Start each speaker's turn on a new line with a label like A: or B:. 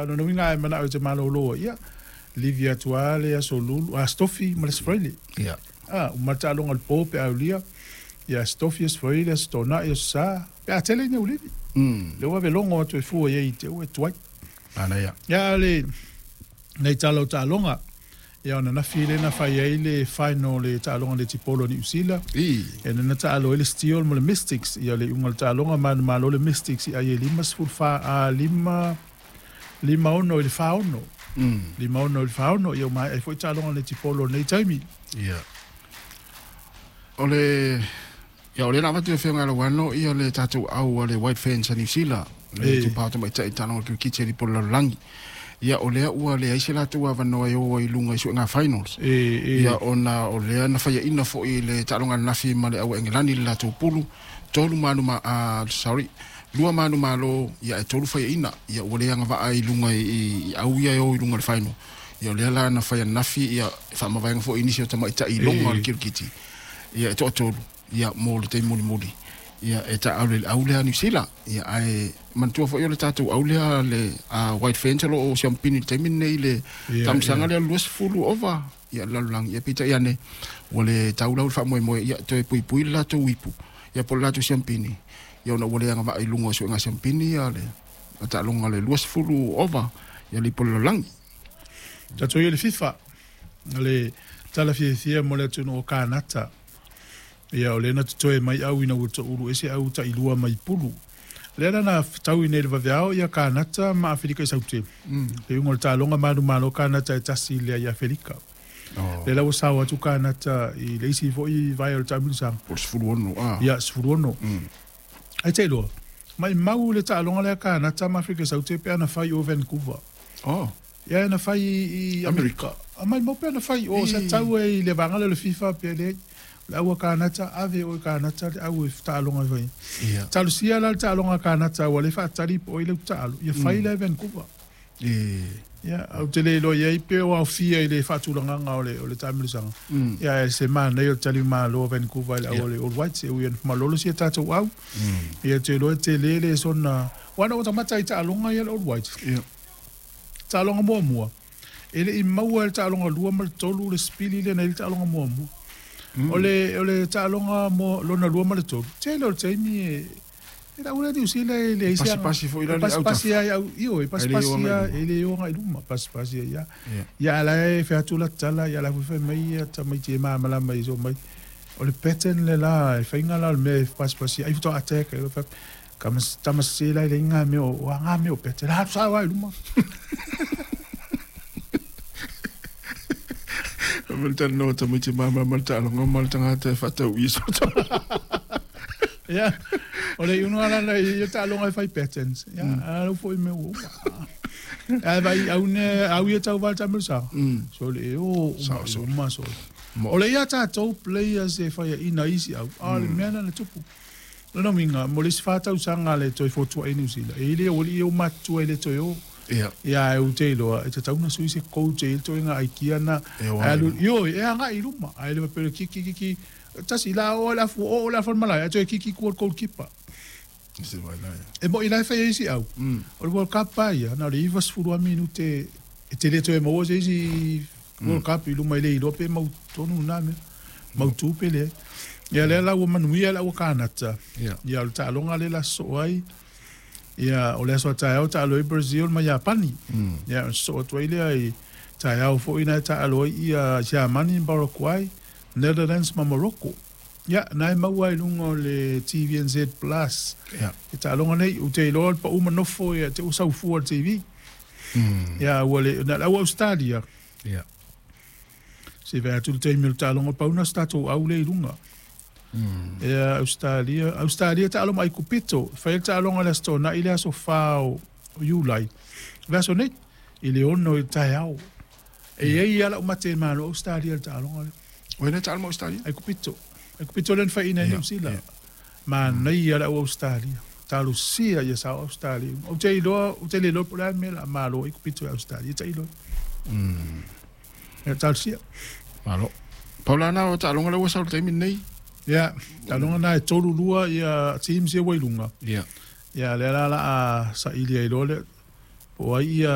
A: Ia lona uiga a e mana'o e te malōlō ai, ia, livi atu lava le Aso Lulu, Aso Tofi ma le Aso Faraile.
B: Ia.
A: A, uma le taaloga i le po pe a aulia, ia Aso Tofi, Aso Faraile, Aso Toonai, Aso Sa, pe a tele ina ulivi. Lea ua avelogo atu e fua i ai i te ua e tuai.
B: Manaia.
A: Ia, a o le nai tala o taaloga, ia o ananafi lea na fai ai le final o le taaloga netipolo a Niu Sila. Ia lea na taalo ai le Steel ma le Mystics. Ia o le iuga o le taaloga, manumalo le Mystics i ai e 54, a, 5, 56 i le 46. 56 i le 46, ia ua maea ai foi taaloga netipolo i lenei taimi.
B: Ia. O le ia o lea na avatu e Afioga ia Lauano ia le tatou au a le White Ferns a Niu Sila, le itupa o tamaitai i taaloga o le kirikiti a Lipo le Lalolagi. Ia o lea ua leai se latou avanoa e o ai i luga i suega finals. Ia ona o lea na faiaina foi i le taaloga ananafi ma le au a Engelani i le latou pulu, tolu manu ma, sorry, lua manu malo, ia ae tolu faiaina. Ia ua le agavaa i luga i au ia e o i luga i le final. Ia o lea la na fai ananafi ia e faamavaega foi i nisi o tamaitai i luga o le kirikiti. Ia e toatolu ia mo le taimi mulimuli ia e taaalo i le au lea a Niu Sila. Ia ae manatua foi o le tatou au lea le White Ferns o lo o siamupini i le taimi lenei i le taamisaga lea o le 20 ova ia le lalolagi. Ia peitai ane ua le tau lau le faamoemoe ia toe puipui le latou ipu ia po o le latou siamupini ia ona ua le agavaa i luga o suega siamupini ia le taaloga le 20 ova ia le ipu o le lalolagi.
A: Tatou i le FIFA, le tala fiafia mo le atunuu o Kanata. Ia, o lea na totoe mai au ina ua toulu ese au tailua mai pulu. Lea la na fetaui nei i le vaveao ia Kanata ma Afelika i Saute. Le iuga o le taaloga manumalo Kanata e tasi i le leai Afelika. Lea la ua sao atu Kanata i le isi foi vae o le taamilosaga.
B: Po o le 16, a.
A: Ia, 16. Ai te iloa, maimau le taaloga lea Kanata ma Afelika i Saute pe ana fai o Vancouver. Ia na fai i Amerika. A maimau pe ana fai o sa tau ai i le vaega lea o le FIFA pe leai. O le au a Kanata, ave oe Kanata le au e taaloga e fai. Talosia la le taaloga a Kanata ua le faatali po o ai le utaalo, ia fai la e Vancouver. Ia, ou te le iloa i ai pe o aofia i le faatulagaga o le taamilosaga. Ia, ae se manaia o le talimalo a Vancouver i le au a le All Whites, e ui ina malolo si a tatou au. Ia, ou te iloa e tele le sona... Aua na ou matamata i taaloga ia a le All Whites. Taaloga muamua, e le i maua e le taaloga lua ma le tolu le sipili lea na i ai le taaloga muamua. O le, o le taaloga mo, lona lua ma le tolu, tele o le taimi e, e lau lea Niu Sila e leai se aga.
B: Pasipasi foi la le
A: autafa. Pasipasi ai au, ioe, pasipasi a, e le o agai i luma, pasipasi ai lava. Ia, a o la e fai atu la tala, ia o la foi fai mai ia tamaiti e malamalama i so mai, o le pattern le la, e faiga la o le mea e pasipasi ai, faatoa attack ai loa, fai atu, Tama sese la e leai ngā mea o, ngā mea o Pete. La atu sao ai luma.
B: Ma le talanoa tamaiti māmā ma le taaloga ma le tagata e faatau i so
A: Ia, o le iuga la na i taaloga e fai patterns. Ia, a lau foi mea ua uma. Ae vai au ne au ia tau val taamilosaga. So le o uma uma so. O le ia tatou players e fai ina isi au. A o le mea na na tupu. Lona uiga, mo le isi 4 tausaga le toe fotua'i ai Niu Sila, e i le ua alii e matutua e le toe o. Ia, ae ou te iloa, e tatau ona sui se coach e i ai le toega aikia na.
B: E o agai i luma.
A: Ioe, e agai i luma. Ae le faapea o le kiki kiki, tasi la o le afu, oo le afu o le malae, ae toe kiki i tua o le goalkeeper. E mo'i la e fai ai isi au. O le World Cup lava ia, na o le 90 lava minute e te le toe maua se isi World Cup i luma e le iloa pe mautonu na mea. Mautu pe leai. Ia lea la ua manuia le au a Kanata. Ia o le taaloga lea la sosoo ai. Ia o le aso a taeao taalo ai Brazil ma Iapani. Ia ona sosoo atu ai lea i taeao foi na e taalo ai ia Siamani ma Paraguay, Netherlands ma Morocco. Ia na e maua ai i luga o le TVNZ Plus. E taaloga nei, ou te iloa le pau ma nofo ia te ua sau fua le TV. Ia ua le na le au Australia. Se vaai atu le taimi o le taaloga pau na o se tatou au lea i luga. Ia Australia, Australia taalo ma Aikupito, fai le taaloga i le Aso Toonai le aso 4 o Iulai. Le aso nei i le 6 i le taeao. E i ai lava lau mate e malo Australia i le taaloga lea.
B: O ai lea taalo ma Australia?
A: Aikupito. Aikupito lea na faiina e Niu Sila. Manaia le au Australia. Talosia ia sao Australia. Ou te iloa, ou te le iloa po o le a le mea o le a malo ai Aikupito i Australia. Tailo. Ia talosia.
B: Malo. Pau la na o taaloga lea ua sau i le taimi lenei.
A: Ia, taaloga na e tolu lua ia teams ia ua i luga. Ia, lea la o le a saili ai loa le po o ai ia